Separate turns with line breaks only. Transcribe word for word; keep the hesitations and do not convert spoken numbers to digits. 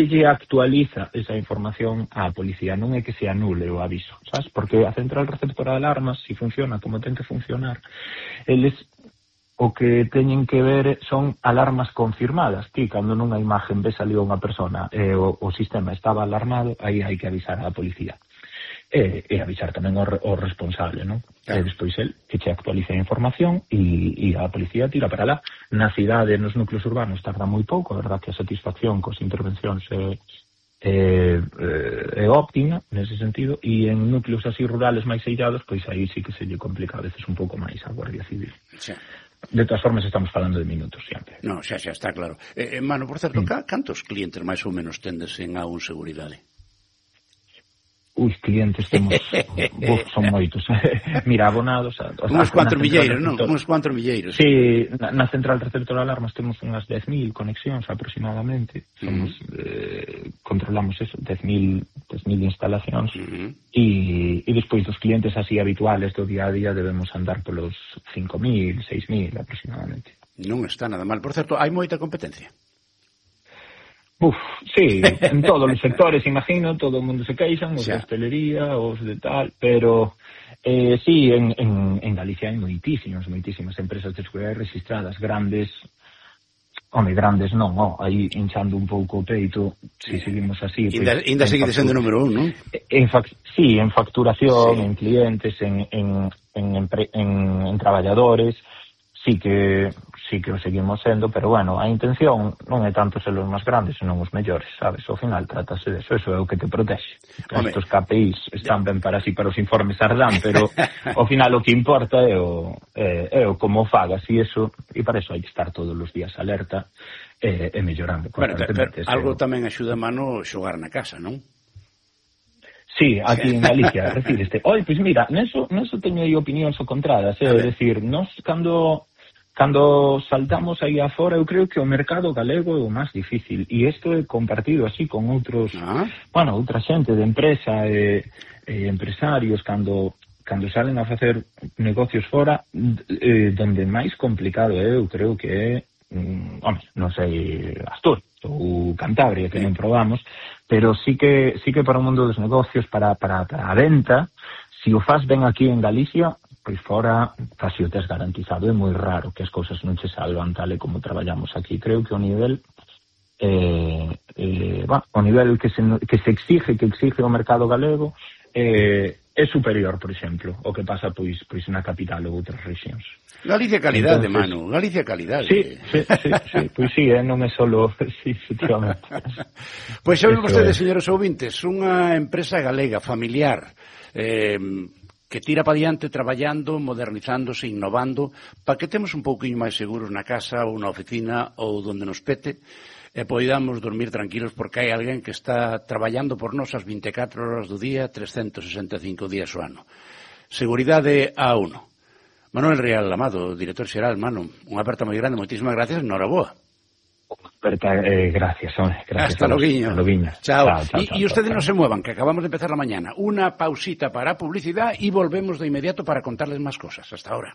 lle actualiza esa información á policía, non é que se anule o aviso, sabes? Porque a central receptora de alarmas, se funciona como ten que funcionar, eles o que teñen que ver son alarmas confirmadas. Ti, cando nunha imagen ves ali unha persona e o, o sistema estaba alarmado, aí hai que avisar á policía. E, e avisar tamén o, o responsable, non? Claro. E despois el que che actualiza a información e, e a policía tira para lá. Na cidade, nos núcleos urbanos, tarda moi pouco, a verdad que a satisfacción cos intervencións é, é, é óptima nese sentido, e en núcleos así rurales máis eillados, pois aí sí que se lle complica a veces un pouco máis a Guardia Civil.
Sí.
De todas formas, estamos falando de minutos sempre.
No, xa, xa, está claro. Eh, Mano, por certo, mm. cantos clientes máis ou menos tendes en A un Seguridade?
Ui, clientes temos, uf, son moitos. Mira, abonados... A, o
Uns cuatro milleiros, non? Uns cuatro milleiros.
Sí, na, na central receptora de alarmas temos unhas dez mil conexións aproximadamente. Somos, uh-huh. eh, controlamos eso, dez mil instalacións. Uh-huh. E, e despois dos clientes así habituales do día a día debemos andar polos cinco mil, seis mil aproximadamente.
Non está nada mal. Por certo, hai moita competencia?
Uf, sí, en todos os sectores, imagino, todo o mundo se queixan, os de hostelería, os de tal, pero eh, sí, en, en, en Galicia hai moitísimas, moitísimas empresas de seguridade registradas, grandes, home, grandes non, oh, aí hinchando un pouco o peito, se si seguimos así...
Inda,
pues,
inda seguide sendo número un, non?
En fac, sí, en facturación, sí. En clientes, en, en, en, empre, en, en traballadores, sí que... sí que o seguimos sendo, pero bueno, a intención non é tanto ser os máis grandes, senón os mellores, sabes? Ao final trátase de eso, eso é o que te protege. Estos K P Is están ben para así para os informes Ardán, pero ao final o que importa é o, é, é o como fagas, e eso, e para eso hai que estar todos os días alerta e, e mellorando.
Bueno, pero, pero algo tamén axuda a Mano xogar na casa, non?
Sí, aquí en Galicia, refíreste. Oi, pois mira, neso, neso teño aí opinións o contradas, é dicir, nos cando... Cando saltamos aí afora, eu creo que o mercado galego é o máis difícil, e isto é compartido así con outros, ah. bueno, outra xente de empresa e, e empresarios, cando cando salen a facer negocios fora, eh, donde máis complicado é, eu creo que é, mm, home, non sei, Asturias ou Cantabria, que non probamos, pero sí que sí que para o mundo dos negocios, para, para, para a venta, se o faz ben aquí en Galicia, pois fora casi o tes garantizado. É moi raro que as cousas non che salvan tal e como traballamos aquí. Creo que o nivel eh, eh, bueno, o nivel que se, que se exige, que exige o mercado galego eh, é superior, por exemplo, o que pasa pois pois na capital ou outras rexións.
Galicia calidade, entonces, Manu, Galicia calidade.
Sí, sí, sí, sí, pois sí, eh, non é solo, sí, efectivamente.
Pois saben vostedes, señores ouvintes, unha empresa galega, familiar, eh, que tira para diante traballando, modernizándose, innovando, para que temos un pouquinho máis seguros na casa ou na oficina ou donde nos pete, e poidamos dormir tranquilos porque hai alguén que está traballando por nós as vinte e catro horas do día, trescentos sesenta e cinco días o ano. Seguridade A uno. Manuel Rial Amado, director xeral, Manu, unha aperta moi grande, moitísimas gracias, noraboa.
Aperta, eh, gracias, hombre, gracias.
Hasta loguiño.
Chao.
Chao, chao, y, chao, y ustedes chao. No se muevan, que acabamos de empezar la mañana. Una pausita para publicidad y volvemos de inmediato para contarles más cosas. Hasta ahora.